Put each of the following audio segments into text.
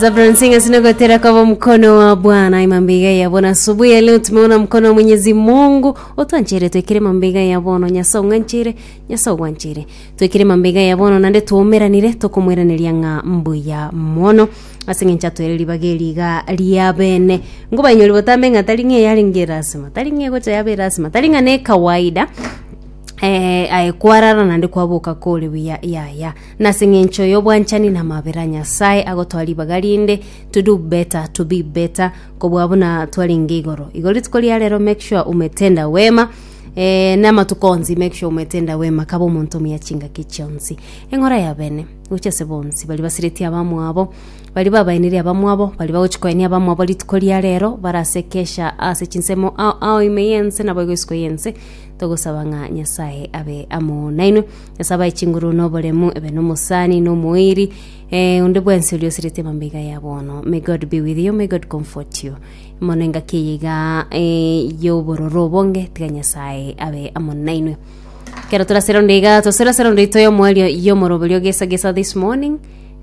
Zabron Singers nogotera kwa mkono wa Bwana imambiga ya Bwana. Asubuhi ya leo tumeona mkono wa Mwenyezi Mungu otwanchere twekire mambiga ya bono Nyasaye ong'anchere Nyasaye ogwanchere twekire mambiga ya bono nande twaumeranire tokomweraneria ng'a mbuya mono ase eng'encho atwere ribaga eri iga ria bene ngobainyori botambe ng'a tari ng'a eyarenge erasima tari ng'a egocha yaba erasima tari ng'a ne ekawaida eh, aye kwarara naende kwaboka kore buya yaya Nase eng'encho y'obwanchani na amabera Nyasae agotoa ribaga rinde to do better, to be better kobua buna twarenge igoro. Igo rituko ria rero make sure umetenda wema eh, na amatuko onsi make sure umetenda wema kaba omonto omuya chingaki chionsi. Eng'ora ya bene gochia ase bonsi baria basiretie abamwabo baria babaenerie abamwabo baria bagochia koenia abamwabo rituko ria rero bare ase kesha ase chinsemo ao ao ime y'ense naboigo isiko y'ense togosaba ng'a Nyasae abe amo nainwe. Nyasae abae chinguru na oboremu, ebe nomosani, na omoiri, eh, onde bwensi oria osirete amambega ya bono. May God be with you, may God comfort you. Mono engaki eye iga eh, y'obororo obonge, tiga Nyasae abe amo nainwe. Kero torasere onde iga, tosere onde ito y'omoerio y'omoroberio gesa gesa this morning,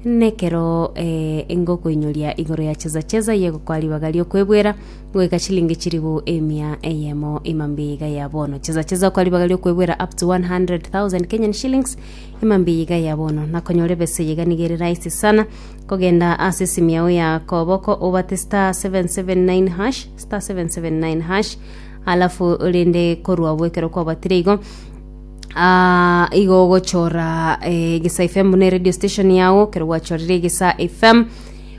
nekero eh, ngokoinyoria igoro ya cheza cheza yegokoa ribaga riokwebwera Goika chilingi chilifu emia eyemo imambia iga ya bono. Cheza cheza kwa ribaga riokwebwera up to 100,000 Kenyan shillings imambia iga ya bono. Nakonyora ebese iga nigo ere rahisi sana kogenda ase esimu yao ya koboko obate star 779 hash star 779 hash alafu rende korwa abwo ekero kwabatire igo Ah, igo ogochora eh, Egesa FM buna radio station yago ekero gwachorire Egesa FM.